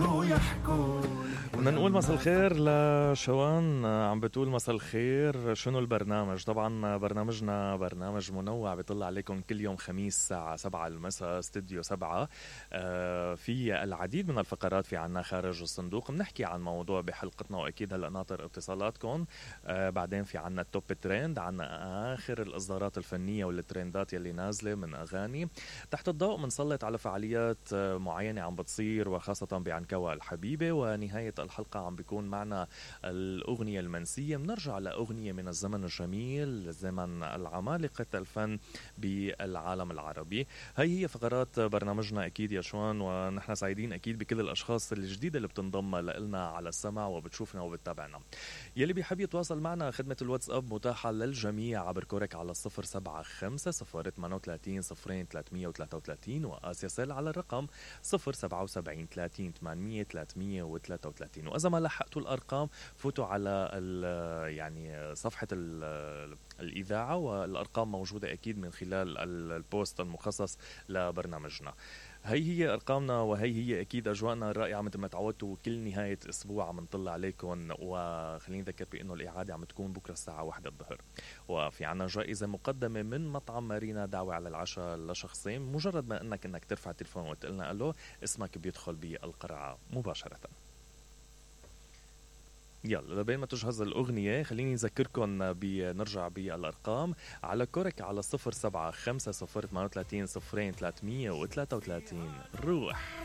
شنو يحكون. بدنا نقول مساء الخير لشوان، عم بتقول مساء الخير. شنو البرنامج؟ طبعا برنامجنا برنامج منوع بيطلع عليكم كل يوم خميس الساعة 7 المساء استوديو 7. في العديد من الفقرات، في عنا خارج الصندوق، بنحكي عن موضوع بحلقتنا وأكيد هلأ ناطر اتصالاتكم. بعدين في عنا التوب ترند، عنا آخر الإصدارات الفنية والترندات يلي نازلة من أغاني. تحت الضوء منسلط على فعاليات معينة عم بتصير، وخاصة بعنكوى الحبيبة. ونهاية الحلقة عم بيكون معنا الأغنية المنسية، بنرجع لأغنية من الزمن الجميل، زمن العمالقة الفن بالعالم العربي. هي فقرات برنامجنا أكيد يا شوان، ونحن سعيدين أكيد بكل الأشخاص الجديدة اللي بتنضم لنا على السمع وبتشوفنا وبتتابعنا. يلي بيحب يتواصل معنا، خدمة الواتساب متاحة للجميع عبر كورك على 075-038-0333 وآسيا سيل على الرقم 077-30-800-333. وإذا ما لحقتوا الأرقام فوتوا على يعني صفحة الإذاعة، والأرقام موجودة أكيد من خلال البوست المخصص لبرنامجنا. هي أرقامنا، وهي هي أكيد أجواءنا الرائعة مثل ما تعودتوا كل نهاية أسبوع عم نطلع عليكم. وخليني أذكر بأنه الإعادة عم تكون بكرة الساعة 1 الظهر. وفي عنا جائزة مقدمة من مطعم مارينا، دعوة على العشاء لشخصين. مجرد ما أنك ترفع التليفون وتقلنا ألو، اسمك بيدخل بالقرعة مباشرة. يلا لبين ما تجهز الأغنية خليني أذكركم بنرجع بالأرقام على كورك على 075-038-0333. روح